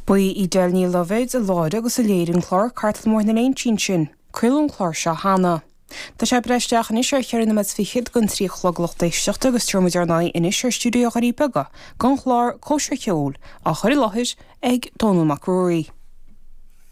Ba í Edel Ní Loibhéid a láithrigh agus a léirigh an clár Cartlann Bhóthar na Léinsí ansin. Craoladh an clár seo cheana. Tá sé ag breith isteach anois ar cheithre nóiméad is fichead don trí a chlog a lucht éisteachta agus tabharfaidh muid ár n-aghaidh anois ar stiúideo Dhoirí Beaga don chlár Cóisir Cheoil á chur i láthair ag Dónall Mac Ruairí.